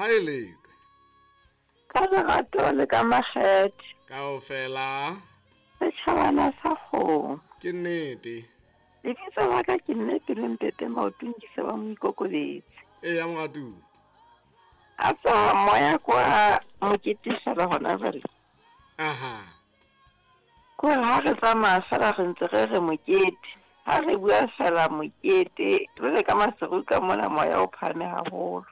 Ha e letwe. Ka lerato le ka makgethe. Kaofela. Setjhabana sa kgomo. Ke nnete. Lebitso la ka ke mme pelo mpepe maotong ke se ba moikokobetsi. Eya moratuwa. A tswa moya kwa mokete fela hona jwale. Aha. Kore ha re tsamaya fela re ntse re re mokete. Ha re bua fela mokete, jwale ka Maseru ka mona moya o phahame haholo.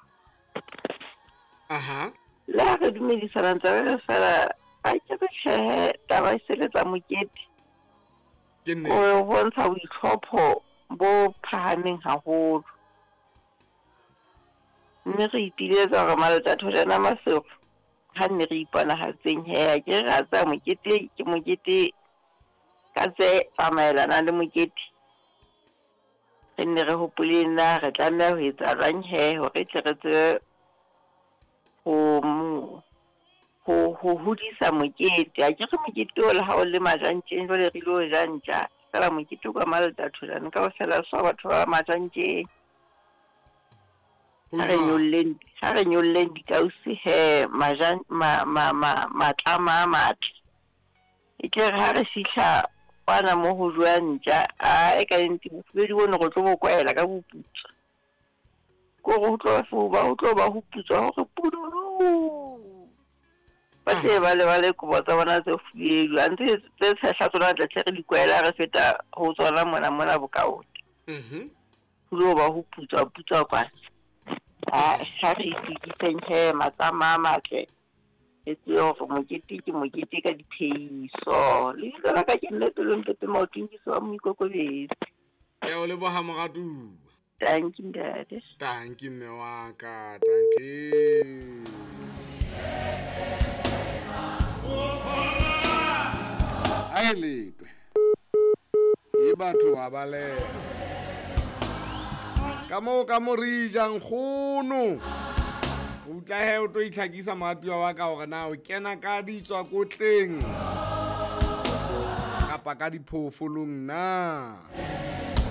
Aha. Le ha re dumedisana ntse re re fela a ke re tjhehe taba e seletsa mokete. Ke nnete. O bontsha boitlhopho bo phahameng haholo. Mme re ipiletsa hore Maletathojana Maseru ha nne re iponahatseng he a ke re a tsaya mokete ke mokete ka tse tsamaelanang le mokete. Re nne re hopoleng na re tlameha ho etsa jwang he hore tle re tsebe ho ho ho hodisa mokete. A ke re mokete o le ha o le majantjeng jwale re ilo ja ntja. Fela mokete o ka Maletathojane kaofela so batho ba majantjeng. Ha re nyolleng ha re nyolleng dikausi he majan ma ma ma matlama a matle. E tle re ha re fihla kwana mo ho jowa ntja a e ka nnete bofubedu bono re tlo bo kwaela ka boputswa. Kore ho tlo ba ho tlo ba ho putswa hore pudulu. Ba tle ba lebale kobo tsa bona tse fubedu. A ntse tse tshehla tsona tle tle re di kwaela re feta ho tsona mona mona bokaote. Mhm. Ho lo ba ho putswa putswa kwana. Ha ha re itokiseng he matlama a matle. E tsebe hore mokete ke mokete ka diphehiso. Lebitso la ka ke mme pelo mpepe maotong ke se wa moikokobetsi. Ke a o leboha moratuwa. Tanki ntate. Tanki mme wa ka, tanki. A e letwe. E batho ba baleha. Ka moo ka mo re jang kgono. O tla he o tlo itlhakisa moratuwa wa ka hore na o kena ka ditswakotleng kapa ka diphoofolong na.